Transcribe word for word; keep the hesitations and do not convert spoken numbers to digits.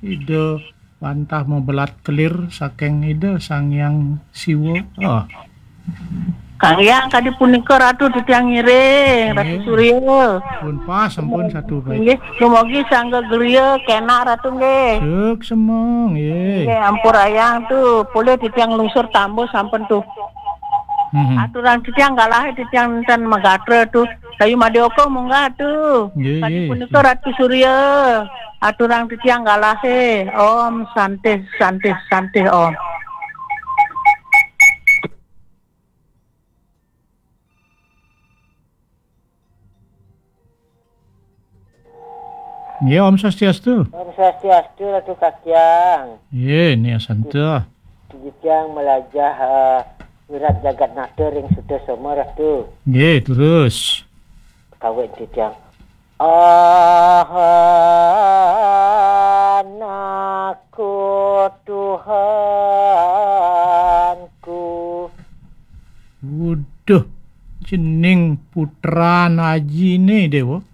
Ida wantah mabelat kelir saking Ida Sang Hyang Siwa. Oh. Kang Hyang, kadi punika Ratu titiang ngiring, Ratu Nggih. Surya. Pun pas sampun satu baik. Nggih, dumugi sangga griya kenak Ratu nggih. Suksma, nggih. Nggih, ampurayang tu, polih titiang lungsur tambus sampun tu. Mhm. Aturang titiang galahe titiang ten magatra tu. Sayu madya oka munggah tu. Nggih, Kadi nggih. Punika Ratu Surya. Aturang titiang galahe. Om Santih, Santih, Santih Om. Nggih, Om Swastiastu. Om Swastiastu, Ratu Kakyang. Nggih, Nia Santa. Titiang melajah uh, wirat jagat nata ring Sutasoma, Ratu. Nggih, terus. Kawin titiang. Ahanaku Tuhanku. Waduh, jening putran ajine, Dewa.